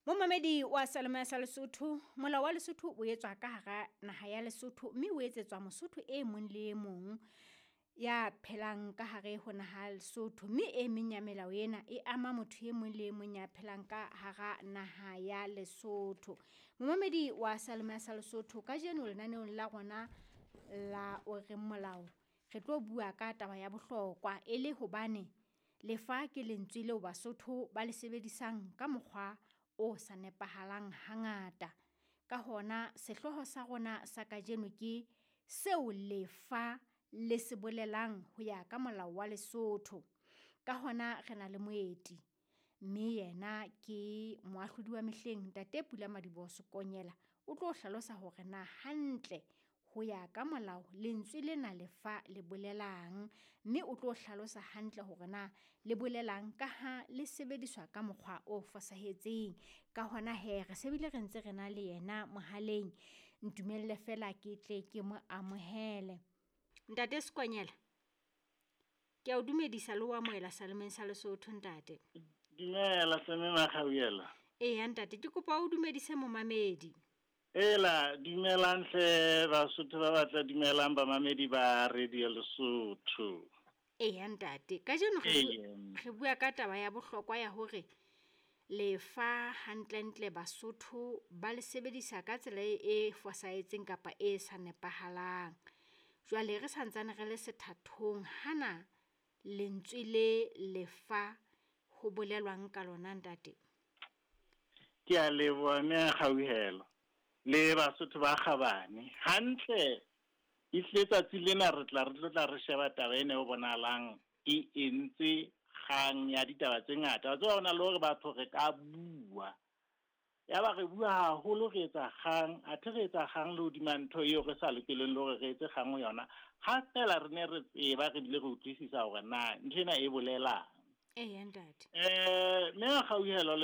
Momamedi wa Salome sa Lesotho, molao wa Lesotho o etswa ka hara naha ya Lesotho mme o etsetswa Mosotho e mong le e mong ya phelang ka hare ho naha ya Lesotho, mme e meng ya melao ena e ama motho e mong le e mong ya phelang ka hara naha ya Lesotho. Momamedi wa Salome sa Lesotho, kajeno lenaneong la rona la o reng molao re tlo bua ka taba ya bohlokwa e le hobane lefa ke lentswe leo Basotho ba le sebedisang ka mokgwa o sa nepahalang hangata. Ka hona sehlooho sa rona sa kajeno ke seo lefa le se bolelang ho ya ka molao wa Lesotho. Ka hona re na le moeti, mme yena ke moahlodi wa mehleng Ntate Pulamadiboho Sekonyela. O tlo hlalosa hore na hantle ho ya ka molao lentswe lena lefa le bolelang, mme o tlo hlalosa hantle hore na le bolelang ka ha le sebediswa ka mokgwa o fosahetseng. Ka hona hee re se bile re ntse re na le yena mohaleng, ntumelle feela ke tle ke mo amohele. Ntate Sekonyela, ke a o dumedisa le ho amohela Salemeng sa Lesotho ntate. Dumela hle mme Makgabuela. Eya ntate, ke kopa o dumedise momamedi. Ela, dumelang hle Basotho ba batla, dumelang bamamedi ba Radio Lesotho. Eya ntate, kajeno re bua ka taba ya bohlokwa ya hore lefa hantlentle Basotho ba le sebedisa ka tsela e fosahetseng kapa e sa nepahalang. Jwale re santsane re le sethathong, hana lentswe le lefa ho bolelwang ka lona ntate? Ke a leboha mme Kgauhelo le Basotho ba kgabane. Hantle ehlile tsatsi lena re tla re tlo tla re sheba taba ena e bonahalang e entse kgang ya ditaba tse ngata. Wa tseba hona le hore batho re ka bua, ya ba re bua haholo, re etsa kgang, athe re etsa kgang le hodima ntho eo re sa lokeleng le hore re etse kgang ho yona. Ha feela re ne re tseba re bile re utlwisisa hore na ntho ena e bolelang. Eya ntate. Mme Kgauhelo le